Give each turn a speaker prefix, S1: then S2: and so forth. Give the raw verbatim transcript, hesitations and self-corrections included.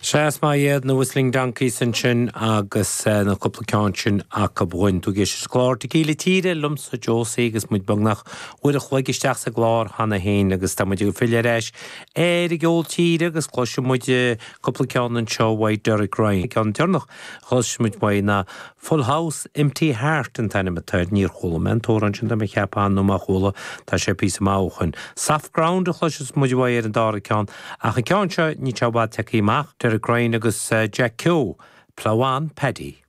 S1: Sea, is maith iad na Whistling Donkeys ansin agus na cúpla ceann sin acu dhúinn. Tú ag éisteacht le clár Tequila Tíre liomsa Josie agus muid beagnach uair a chloig isteach sa gclár cheana féin agus tá muid ag filleadh ar ais ar an gceol tíre agus cloisfidh muid cúpla ceann anseo uaidh Derek Ryan. Ceann deireanach chloisfidh muid uaidh ná Full House Empty Heart an t-ainm atá air níor chuala mé an t-amhrán sin tá mé ag ceapadh nó má chuala tá sé píosa maith ó shin. Soft Ground a chloisfidh muid uaidh ar an dara ceann ach an ceann seo níl sé i bhfad tagtha amach Derek Ryan agus Jack Keogh, Plough On Paddy.